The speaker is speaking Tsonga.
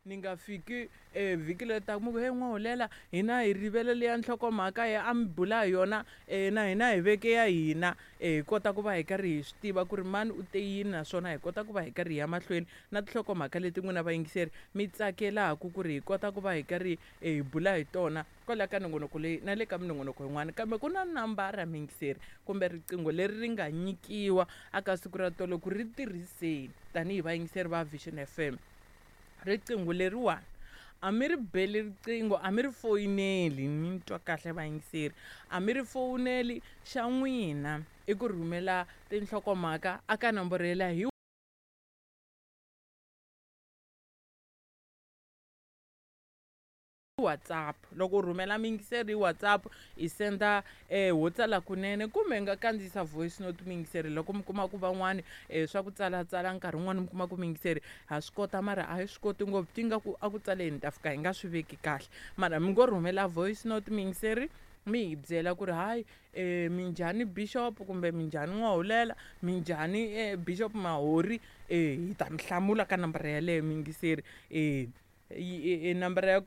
Ni nga fiki vhiki leri taka mi ku he n'wahulela hina hi rivele leya nhlokomhaka ya a mi bula hi yona na hina hi veke ya hina hi kota ku va hi karhi hi swi tiva ku ri mani u te yini naswona hi kota ku va hi karhi hi ya mahlweni na tinhlokomhaka leti n'wina vayingiseri mi tsakelaku ku ri hi kota ku va hi karhi hi bula hi tona kwala ka nongonoko leyi na le ka minongonoko yin'wana. Kambe ku na nambara muyingiseri kumbe riqingho leri ri nga nyikiwa aka siku ra tolo ku ri tirhiseni tanihi vayingiseri va Vision FM. Riqingho leriwani a mi ri beli riqingho a mi ri foyineli mi twa kahle vayingiseri a mi ri fowuneli xa n'wina i ku rhumela tinhlokomhaka aka nomboro yeleyo hi WhatsApp. Loko u rhumela muyingiseri hi WhatsApp i senda ho tsala kunene kumbe hi nga kandziyisa voice note muyingiseri loko mi kuma ku van'wani swa ku tsalatsala nkarhi wun'wani mi kuma ku muyingiseri ha swi kota mara a hi swi koti ngopfu ti nga ku a ku tsaleni ta fika hi nga swi veki kahle mara mi ngo rhumela voice note muyingiseri mi hi byela ku ri hayi minjhani bishop kumbe minjhani n'wahulela minjhani bishop Mahori hi ta mi hlamula ka nambara yaleyo muyingiseri nambara ya.